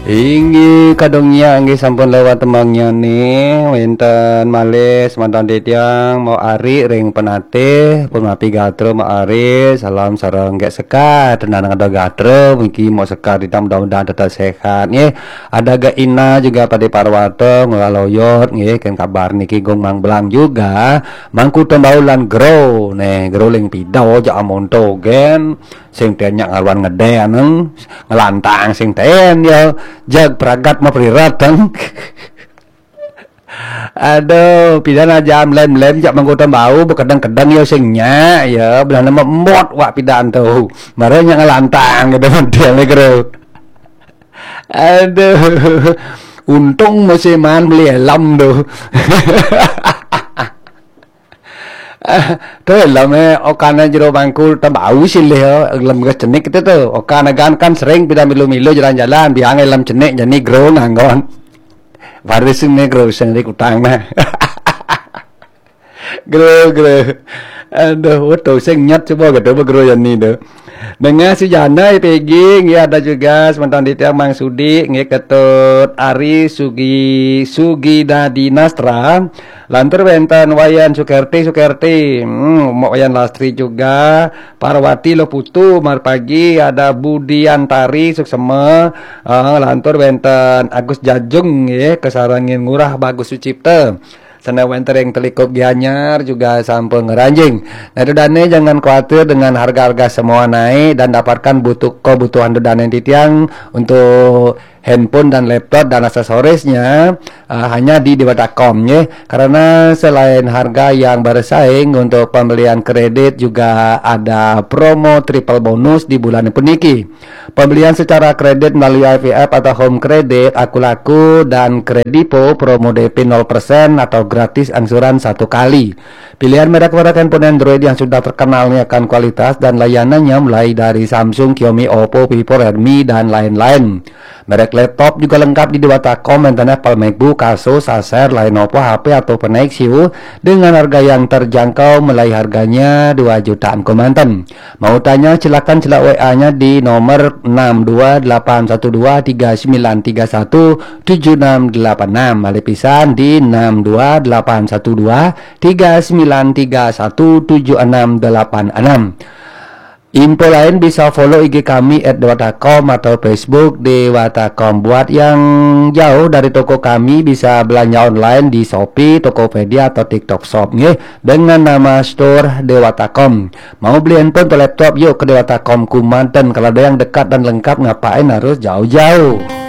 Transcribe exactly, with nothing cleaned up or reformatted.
Inggih kadung nyak, inggih sampun lewat tembangnya nih. Wénten malih semeton titiang mau ari ring penatih, pun mapi gatra mau ari, salam sareng Gék Sekar. Tenan ada gatra, mungkin mau Sekar titiang mudah-mudahan tetap sehat nggih. Ada Gék Ina juga pada Parwata, Ngurah Loyot nggih, kan kabar niki Gung Mang Belang juga. Mangku Tembau lan Gro, nih Gro ling pida jak amonto gen. Sing ten nyak ngaruan ngedé aneng, ngelantang sing ten ya. Jag pragat mah prirat teng. Aduh, pidan aja lem-lem jak Mangku Tembau, bekedeng-kedeng ya sing nyak ya, belah nama embot wak pidan tuh. Mara nyak ngelantang gitu model nih, Gro. Aduh. Untung musiman beli helm tuh. Tuh helmé okana jero Mangku Tembau silih ya, helm gas cenik itu tuh. Okana gan kan sering pida milu-milu jalan-jalan, biang helm cenik jani Gro nganggon. Baris ini Gro sing di kutang mah. Gro, Gro. Aduh, waduh sing nyet coba gitu Gro jani tuh. Dengan si Jana I P G, nggih ada juga semeton titiang Mang Sudi, nggih Ketut Ari Sugi Sugida Dinastra. Lantur wénten Wayan Sukerti Sukerti, hmm, Mbok Wayan Lastri juga, Parwati Loputu, marpagi ada Budiantari Suksema, eh, lantur wénten Agus Jajung nggih, kasarengin Ngurah Bagus Sucipta. Sana wénten ring Telikup Gianyar juga sampun ngranjing. Nah, itu dane jangan khawatir dengan harga-harga semua naik dan dapatkan butuh kebutuhan dane titiang untuk handphone dan laptop dan aksesorisnya, eh, hanya di Dewata Com, ya. Karena selain harga yang bersaing, untuk pembelian kredit juga ada promo triple bonus di bulan puniki. Pembelian secara kredit melalui I V F atau Home Credit, Akulaku, dan Kredipo, promo D P nol persen atau gratis angsuran satu kali. Pilihan merek-merek handphone Android yang sudah terkenal nih akan kualitas dan layanannya, mulai dari Samsung, Xiaomi, Oppo, Vivo, Redmi, dan lain-lain. Merek laptop juga lengkap di Dewata Com, internet Apple MacBook, Asus, Acer, Lenovo, H P atau Nexus dengan harga yang terjangkau, mulai harganya dua jutaan kemanten. Mau tanya, silakan cela W A-nya di nomor enam dua delapan satu dua tiga sembilan tiga satu tujuh enam delapan enam. Malih pisan di enam dua delapan satu dua tiga sembilan tiga satu tujuh enam delapan enam. Info lain bisa follow I G kami at dewata com atau Facebook Dewata com. Buat yang jauh dari toko kami, bisa belanja online di Shopee, Tokopedia, atau TikTok Shop, nggih, dengan nama Store Dewata Com. Mau beli handphone atau laptop, yuk ke Dewata Com Kumanten. Kalau ada yang dekat dan lengkap, ngapain harus jauh-jauh?